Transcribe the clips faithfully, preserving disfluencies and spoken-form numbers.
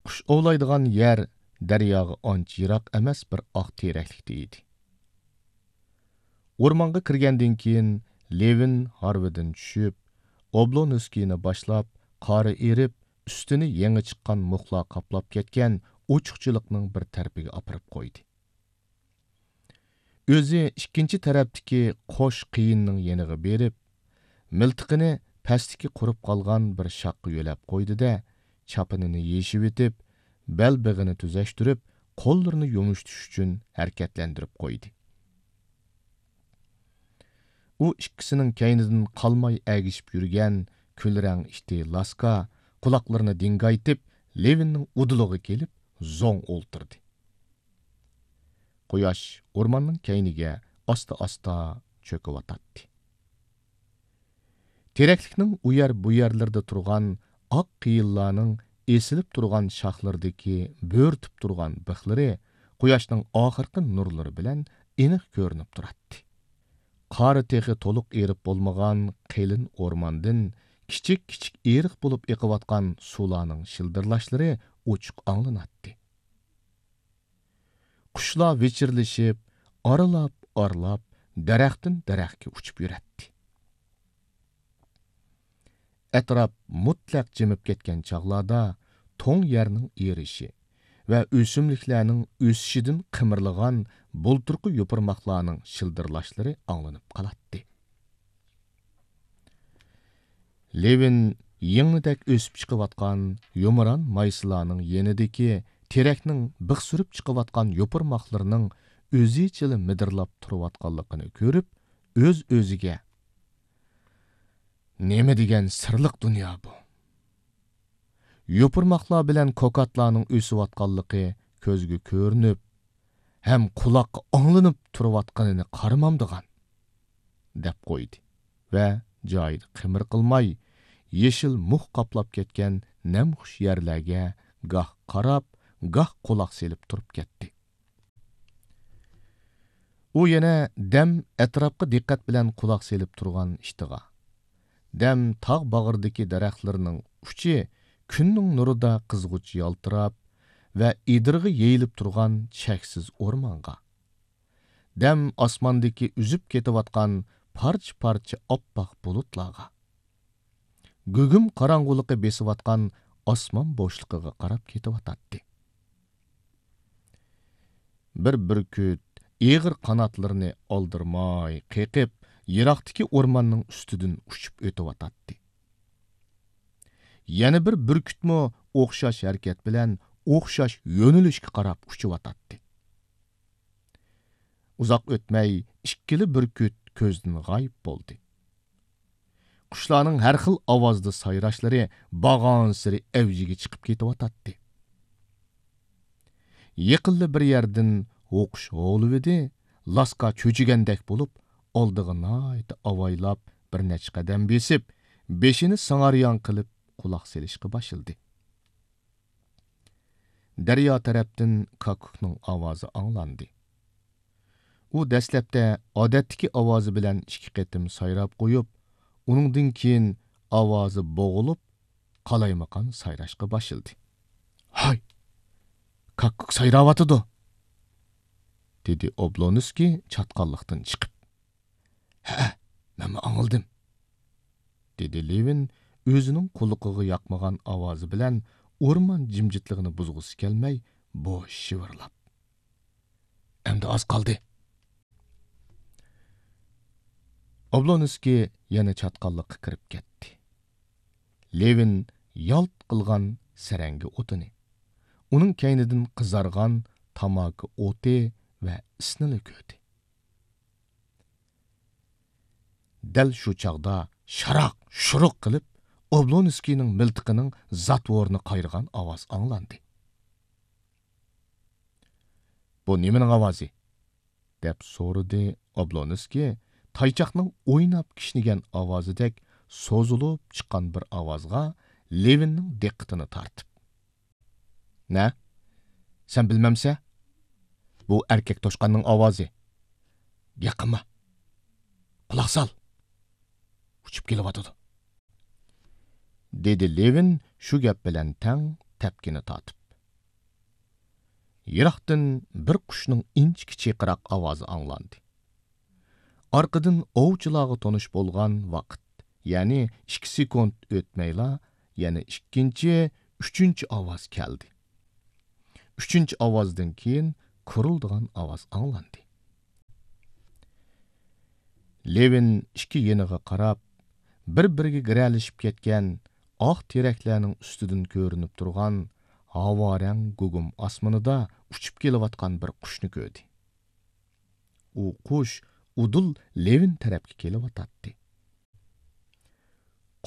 قۇش ئوۋلايدىغان يەر دەرياغا ئانچە يىراق ئەمەس بىر ئاق تېرەكلىكتە ئىدى. ئورمانغا كىرگەندىن كېيىن، لېۋىن ھارۋىدىن چۈشۈپ، ئوبلونسكىينى باشلاپ، قارى ئېرىپ، ئۈستىنى يېڭى چىققان مۇخلار قاپلاپ كەتكەن ئوچۇقچىلىقنىڭ بىر تەرىپىگە ئاپىرىپ قويدى. ئۆزى ئىككىنچى تەرەپتىكى قوش قېيىننىڭ يېنىغا بېرىپ، مىلتىقىنى پەستىكى قۇرۇپ قالغان بىر شاخقا يۆلەپ قويدى-دە، چاپىنىنى يېشىۋېتىپ، بەلبېغىنى تۈزەشتۈرۈپ، قوللىرىنى يۇمشىتىش ئۈچۈن ھەرىكەتلەندۈرۈپ قويدى. ئۇ ئىككىسىنىڭ كەينىدىن قالماي ئەگىشىپ يۈرگەن كۈلرەڭ ئىتى لاسكا قۇلاقلىرىنى دىڭگايتىپ، لېۋىننىڭ ئۇدۇلىغا كېلىپ زوڭ ئولتۇردى. قۇياش ئورماننىڭ كەينىگە ئاستا-ئاستا چۆكۈۋاتاتتى. تېرەكلىكنىڭ ئۇ يەر بۇ يەرلىرىدە تۇرغان ئاق قېيىنلارنىڭ ئېسىلىپ تۇرغان شاخلىرىدىكى بۆرتۈپ تۇرغان بىخلىرى قۇياشنىڭ ئاخىرقى نۇرلىرى بىلەن ئېنىق كۆرۈنۈپ تۇراتتى. قارى تېخى تولۇق ئېرىپ بولمىغان قېلىن ئورماندىن كىچىك-كىچىك ئېرىق بولۇپ ئېقىۋاتقان سۇلارنىڭ شىلدىرلاشلىرى ئوچۇق ئاڭلىناتتى. قۇشلار ۋىچىرلىشىپ، ئارىلاپ-ئارىلاپ، دەرەختىن دەرەخكە ئۇچۇپ يۈرەتتى. ئەتراپ مۇتلەق جىمىپ كەتكەن چاغلاردا توڭ يەرنىڭ ئېرىشى ۋە ئۆسۈملۈكلەرنىڭ ئۆسۈشىدىن قىمىرلىغان بۇلتۇرقى يوپۇرماقلارنىڭ شىلدىرلاشلىرى ئاڭلىنىپ قالاتتى. لېۋىن يىڭنىدەك ئۆسۈپ چىقىۋاتقان يۇمران مايسىلارنىڭ يېنىدىكى تېرەكنىڭ بىخ سۈرۈپ چىقىۋاتقان يوپۇرماقلىرىنىڭ ئۆزىچىلا مىدىرلاپ تۇرۇۋاتقانلىقىنى كۆرۈپ، ئۆز-ئۆزىگە، «نېمە دېگەن سىرلىق دۇنيا بۇ! يوپۇرماقلار بىلەن كوكاتلارنىڭ ئۆسۈۋاتقانلىقى كۆزگە كۆرۈنۈپ، ھەم قۇلاققا ئاڭلىنىپ تۇرۇۋاتقىنىنى قارىمامدىغان؟» دەپ قويدى ۋە جايىدا قىمىر قىلماي، يېشىل مۇخ قاپلاپ كەتكەن نەمخۇش يەرلەرگە گاھ قاراپ، گاھ قۇلاق سېلىپ تۇرۇپ كەتتى. ئۇ يەنە دەم ئەتراپقا دىققەت بىلەن قۇلاق سېلىپ تۇرغان ئىتىغا، دەم تاغ باغرىدىكى دەرەخلەرنىڭ ئۇچى كۈننىڭ نۇرىدا قىزغۇچ يالتىراپ ۋە ئېدىرغا يېيىلىپ تۇرغان چەكسىز ئورمانغا، دەم ئاسماندىكى ئۈزۈپ كېتىۋاتقان پارچە-پارچە ئاپئاق بۇلۇتلارغا، گۇگۇم قاراڭغۇلۇقى بېسىۋاتقان ئاسمان بوشلۇقىغا قاراپ كېتىۋاتاتتى. بىر بۈركۈت ئېغىر قاناتلىرىنى ئالدىرىماي قېقىپ، يىراقتىكى ئورماننىڭ ئۈستىدىن ئۇچۇپ ئۆتۈۋاتاتتى. يەنە بىر بۈركۈتمۇ ئوخشاش ھەرىكەت بىلەن ئوخشاش يۆنىلىشكە قاراپ ئۇچۇۋاتاتتى. ئۇزاق ئۆتمەي ئىككىلا بۈركۈت كۆزدىن غايىب بولدى. قۇشلارنىڭ ھەر خىل ئاۋازدا سايراشلىرى بارغانسېرى ئەۋجىگە چىقىپ كېتىۋاتاتتى. يېقىنلا بىر يەردىن ھوقۇش ھوۋلىۋىدى، لاسكا چۆچۈگەندەك بولۇپ، ئالدىغا ناھايىتى ئاۋايلاپ بىر نەچچە قەدەم بېسىپ، بېشىنى سىڭاريان قىلىپ قۇلاق سېلىشقا باشلىدى. دەريا تەرەپتىن كاككۇكنىڭ ئاۋازى ئاڭلاندى. ئۇ دەسلەپتە ئادەتتىكى ئاۋازى بىلەن ئىككى قېتىم سايراپ قويۇپ، ئۇنىڭدىن كېيىن ئاۋازى بوغۇلۇپ، قالايمىقان سايراشقا باشلىدى. «ھاي، كاككۇك سايراۋاتىدۇ!» دېدى ئوبلونسكىي چاتقاللىقتىن چىقىپ. «ھەئە، مەنمۇ ئاڭلىدىم.» دېدى لېۋىن ئۆزىنىڭ قۇلىقىغا ياقمىغان ئاۋازى بىلەن ئورمان جىمجىتلىقىنى بۇزغۇسى كەلمەي بوش شىۋىرلاپ. «ئەمدى ئاز قالدى.» ئوبلونسكىي يەنە چاتقاللىققا كىرىپ كەتتى. لېۋىن يالت قىلغان سەرەڭگە ئوتىنى، ئۇنىڭ كەينىدىن قىزارغان تاماكا ئوتى ۋە ئىسنىلا كۆردى. دەل شۇ چاغدا شاراق-شۇرۇق قىلىپ، ئوبلونسكىينىڭ مىلتىقىنىڭ زاتۋورىنى قايرىغان ئاۋاز ئاڭلاندى. «بۇ نېمىنىڭ ئاۋازى؟» دەپ سورىدى ئوبلونسكىي تايچاقنىڭ ئويناپ كىشنىگەن ئاۋازىدەك سوزۇلۇپ چىققان بىر ئاۋازغا لېۋىننىڭ دىققىتىنى تارتىپ. «نە؟ سەن بىلمەمسە؟ بۇ ئەركەك توشقاننىڭ ئاۋازى. گەپ قىلما. قۇلاق سال. ئۇچۇپ كېلىۋاتىدۇ.» دېدى لېۋىن شۇ گەپ بىلەن تەڭ تەپكىنى تارتىپ. يىراقتىن بىر قۇشنىڭ ئىنچىكە چىرقىراق ئاۋازى ئاڭلاندى. ئارقىدىن ئوۋچىلارغا تونۇش بولغان ۋاقىت، يەنى ئىككى سېكۇنت ئۆتمەيلا، يەنە ئىككىنچى، ئۈچىنچى ئاۋاز كەلدى. ئۈچىنچى ئاۋازدىن كېيىن كۇرۇلدىغان ئاۋاز ئاڭلاندى. لېۋىن ئىككى يېنىغا قاراپ، بىر-بىرىگە گىرەلىشىپ كەتكەن ئاق تېرەكلەرنىڭ ئۈستىدىن كۆرۈنۈپ تۇرغان ھاۋارەڭ گۇگۇم ئاسمىنىدا ئۇچۇپ كېلىۋاتقان بىر قۇشنى كۆردى. ئۇ قۇش ئۇدۇل لېۋىن تەرەپكە كېلىۋاتاتتى.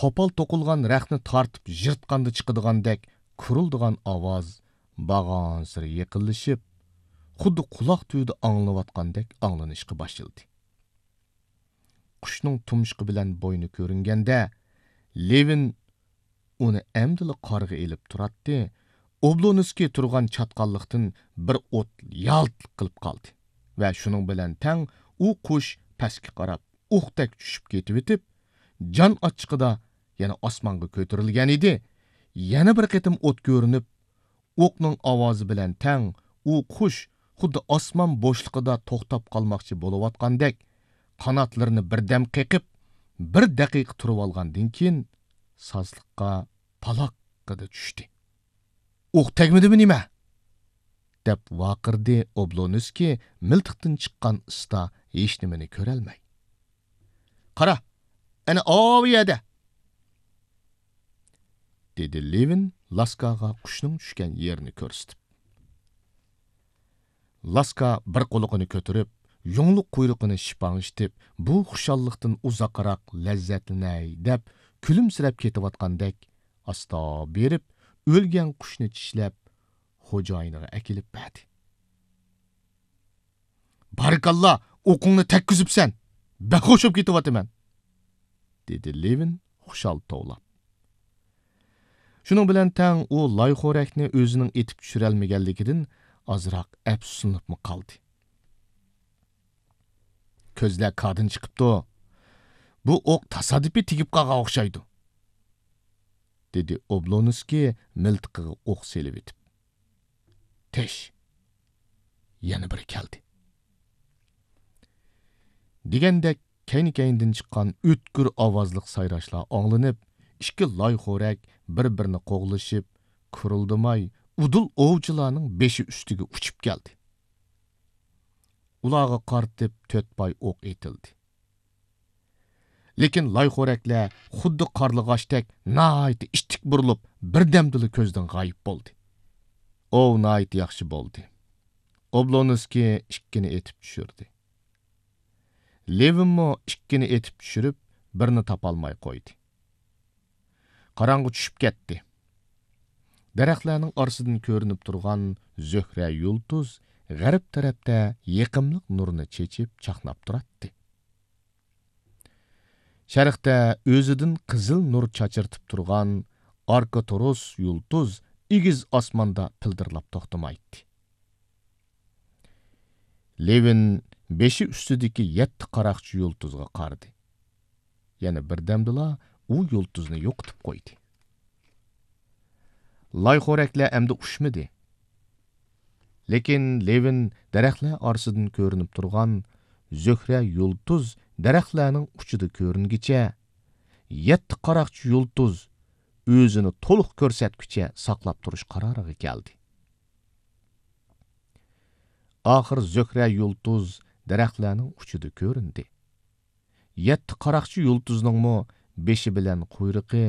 قوپال توقۇلغان رەختنى تارتىپ يىرتقاندا چىقىدىغاندەك كۇرۇلدىغان ئاۋاز بارغانسېرى يېقىنلىشىپ، خۇددى قۇلاق تۈۋىدە ئاڭلىنىۋاتقاندەك ئاڭلىنىشقا باشلىدى. قۇشنىڭ تۇمشۇقى بىلەن بوينى كۆرۈنگەندە، لېۋىن ئۇنى ئەمدىلا قارىغا ئېلىپ تۇراتتى، ئوبلونسكىي تۇرغان چاتقاللىقتىن بىر ئوت يالت قىلىپ قالدى ۋە شۇنىڭ بىلەن تەڭ ئۇ قۇش پەسكە قاراپ ئوقتەك چۈشۈپ كېتىۋېتىپ، جان ئاچچىقىدا يەنە ئاسمانغا كۆتۈرۈلگەن ئىدى. يەنە بىر قېتىم ئوت كۆرۈنۈپ، ئوقنىڭ ئاۋازى بىلەن تەڭ ئۇ قۇش خۇددى ئاسمان بوشلۇقىدا توختاپ قالماقچى بولۇۋاتقاندەك، قاناتلىرىنى بىردەم قېقىپ، بىر دەقىقە تۇرۇۋالغاندىن كېيىن، سازلىققا پالاققىدە چۈشتى. «ئوق تەگمىدىمۇ نېمە؟» دەپ ۋارقىرىدى ئوبلونسكىي مىلتىقتىن چىققان ئىستا ھېچنېمىنى كۆرەلمەي. «قارا، ئەنە ئاۋۇ يەردە!» دېدى لېۋىن لاسكاغا قۇشنىڭ چۈشكەن يېرىنى كۆرسىتىپ. لاسكا بىر قۇلىقىنى كۆتۈرۈپ، يۇڭلۇق قۇيرۇقىنى شىپاڭشىتىپ، بۇ خۇشاللىقتىن ئۇزاقراق لەززەتلىنەي دەپ كۈلۈمسىرەپ كېتىۋاتقاندەك، ئاستا بېرىپ، ئۆلگەن قۇشنى چىشلەپ، خوجايىنىغا ئەكېلىپ بەردى. «بارىكاللا، ئوقۇڭنى تەگكۈزۈپسەن! بەك خۇش بولۇپ كېتىۋاتىمەن!» دېدى لېۋىن خۇشال توۋلاپ. شۇنىڭ بىلەن تەڭ ئۇ لايخورەكنى ئۆزىنىڭ ئېتىپ چۈشۈرەلمىگەنلىكىدىن ئازراق ئەپسۇسلىنىپمۇ قالدى. «كۆزلەر كاردىن چىقىپتۇ. بۇ ئوق تاسادىپىي تېگىپ قالغان ئوخشايدۇ.» دېدى ئوبلونسكىي مىلتىقىغا ئوق سېلىۋېتىپ. «تىش!» يەنە بىرى كەلدى. دېگەندەك كەينى-كەينىدىن چىققان ئۆتكۈر ئاۋازلىق سايراشلار ئاڭلىنىپ، ئىككى لايخورەك بىر-بىرىنى قوغلىشىپ، كۇرۇلدىماي ئۇدۇل ئوۋچىلارنىڭ بېشى ئۈستىگە ئۇچۇپ كەلدى. ئۇلارغا قارىتىپ تۆت پاي ئوق ئېتىلدى. لېكىن لايخورەكلەر خۇددى قارلىغاچتەك ناھايىتى ئىتتىك بۇرۇلۇپ، بىردەمدىلا كۆزدىن غايىب بولدى. ئوۋ ناھايىتى ياخشى بولدى. ئوبلونسكىي ئىككىنى ئېتىپ چۈشۈردى. لېۋىنمۇ ئىككىنى ئېتىپ چۈشۈرۈپ، بىرنى تاپالماي قويدى. قاراڭغۇ چۈشۈپ كەتتى. دەرەخلەرنىڭ ئارىسىدىن كۆرۈنۈپ تۇرغان زۆھرە يۇلتۇز غەرب تەرەپتە يېقىملىق نۇرىنى چېچىپ چاقناپ تۇراتتى. شەرقتە ئۆزىدىن قىزىل نۇر چاچرىتىپ تۇرغان ئاركتۇرۇس يۇلتۇز ئېگىز ئاسماندا پىلدىرلاپ توختىمايتتى. لېۋىن بېشى ئۈستىدىكى يەتتە قاراقچى يۇلتۇزغا قارىدى. يەنە بىردەمدىلا ئۇ يۇلتۇزنى يوقىتىپ قويدى. لايخورەكلەر ئەمدى ئۇچمىدى. لېكىن لېۋىن دەرەخلەر ئارىسىدىن كۆرۈنۈپ تۇرغان زۆھرە يۇلتۇز دەرەخلەرنىڭ ئۇچىدا كۆرۈنگىچە، يەتتە قاراقچى يۇلتۇز ئۆزىنى تولۇق كۆرسەتكۈچە ساقلاپ تۇرۇش قارارىغا كەلدى. ئاخىر زۆھرە يۇلتۇز دەرەخلەرنىڭ ئۇچىدا كۆرۈندى. يەتتە قاراقچى يۇلتۇزنىڭمۇ بېشى بىلەن قۇيرۇقى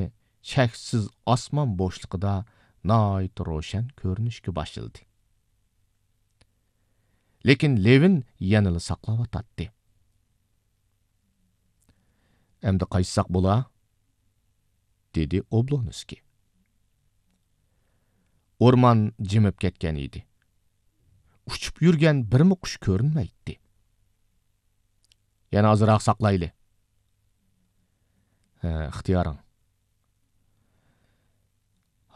چەكسىز ئاسمان بوشلۇقىدا ناھايىتى روشەن كۆرۈنۈشكە باشلىدى. لېكىن لېۋىن يەنىلا ساقلاۋاتاتتى. «ئەمدى قايتساق بولا؟» دېدى ئوبلونسكىي. ئورمان جىمىپ كەتكەن ئىدى. ئۇچۇپ يۈرگەن بىرمۇ قۇش كۆرۈنمەيتتى. «يەنە ئازراق ساقلايلى.» «ھە، ئىختىيارىڭ.»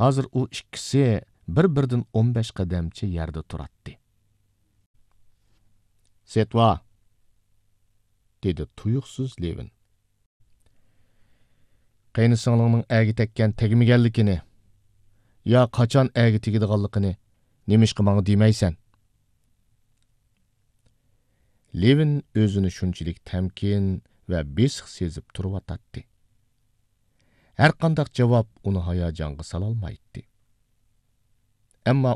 ھازىر ئۇ ئىككىسى بىر-بىرىدىن ئون بەش قەدەمچە يەردە تۇراتتى. «سېتۋا!» دېدى تۇيۇقسىز لېۋىن. «قېينىسىڭلىڭنىڭ ئەگە تەگكەن تەگمىگەنلىكىنى، يا قاچان ئەگە تېگىدىغانلىقىنى نېمىشقا ماڭا دېمەيسەن؟» لېۋىن ئۆزىنى شۇنچىلىك تەمكىن ۋە بېسىق سېزىپ تۇرۇۋاتاتتى. ھەرقانداق جاۋاب ئۇنى ھاياجانغا سالالمايتتى. ئەمما